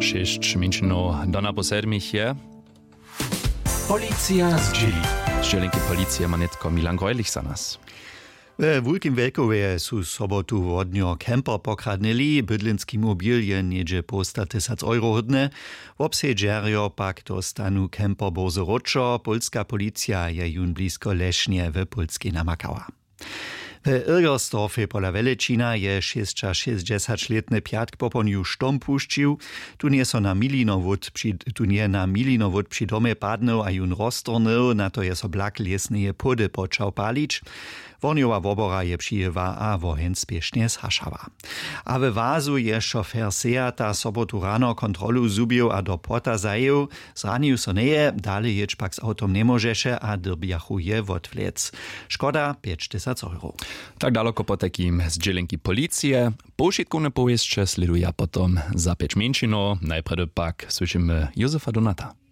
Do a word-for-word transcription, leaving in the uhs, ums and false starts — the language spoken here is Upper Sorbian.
Šěsć mjeńšinow do napoł sedmich je. Policija zdźěli. Zdźělenki policije ma nětko Milan Grojlich za nas. We Wulkim Wjelkowje su sobotu wodnjo camper pokradnyli. Bydlenski mobil je něhdźe połsta tysac euro hódny. Wobsedźerjo pak dóstanu camper bórze wróćo. Pólska policija je jón blisko lešnje w pólskej namakała. W Irgersdorfej pola Wjelećina je šěsćašěsćdźesaćlětny pjatk popołdnju štom pušćił. Tón je so na milinowód při tón je na milinowód při domje padnył a jón roztornył, na to je so blak lěsneje płody počał palić. Wornjowa wobora je přijěła a woheń spěšnje zhašała. A we Wazu je šofer Seata sobotu rano kontrolu zhubił a do płota zajěł. Zranił so njeje, dale jěć pak z awtom njemóžeše a dyrbjachu je wotwlec. Škoda pjećtysac euro. Tak daloko potajkim zdźělenki policije. Powšitkowne powěsće slěduja potom za pjeć mjeńšinow. Najprjedy pak słyšimy Józefa Donata.